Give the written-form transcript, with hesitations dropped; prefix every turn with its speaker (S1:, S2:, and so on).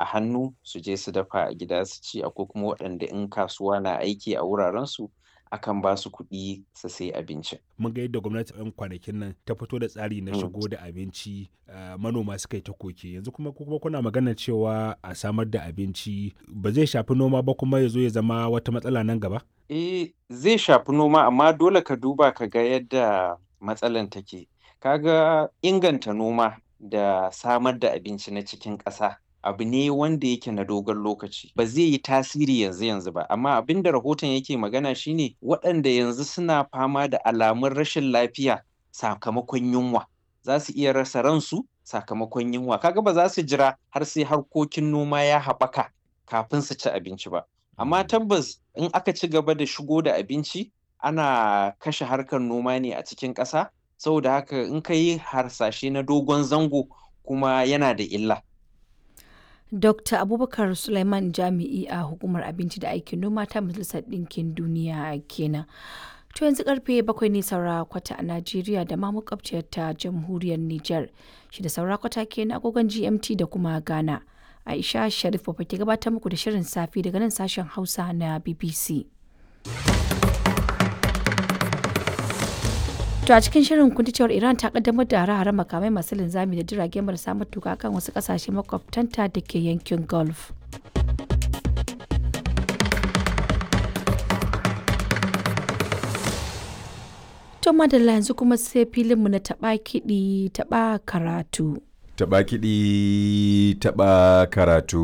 S1: hannu su je su dafa a gida su ci, akwai kuma waɗanda in kasuwa na aiki a wurarensu akan ba su kuɗi su sayi abincin.
S2: Mun ga yadda gwamnati 'yan kwanakin nan ta fito da tsari na shigo da abinci, manoma suka yi ta koke. Yanzu kuma kuna magana cewa a samar da abinci ba zai shafi noma ba kuma ya zo ya zama wata matsala nan gaba?
S1: Eh, zai shafi noma amma dole ka duba ka ga yadda matsalan take. Ka ga inganta noma da samar da abinci na cikin ƙasa abu ne wanda yake na dogon lokaci. Ba zai yi tasiri yanzu yanzu ba, amma abin da rahoton yake magana shine waɗanda yanzu suna fama da alamun rashin lafiya sakamakon yunwa. Za su iya rasa ransu sakamakon yunwa. Ka ga ba za su jira har sai harkokin noma ya haɓaka kafin su ci abinci ba. Amma tabbas in aka ci gaba da shigo da abinci ana kashe harkar noma ne a cikin ƙasa. Saboda haka in ka yi harsashe na dogon zango kuma yana da illa.
S3: Dr. Abubakar Sulaiman Jami'i a Hukumar Abinci da Aikin Noma ta Majalisar Ɗinkin Duniya kenan. To yanzu karfe 7 ne saura kwata a Najeriya da ma makwabciyar ta Jamhuriyar Nijar. 6 saura kwata kenan agogon GMT da kuma Ghana. Aisha Sharif Baba ke gabatar muku da shirin safe daga nan sashen Hausa na BBC. To a cikin shirin kun ji cewar Iran ta kaddamar da hare-haren makamai masu linzami da jirage marasa matuka kan wasu kasashe makwabtanta da ke yankin Gulf. To madalla yanzu kuma sai filinmu na taɓa kiɗi taɓa karatu.
S4: Taɓa kiɗi taɓa karatu.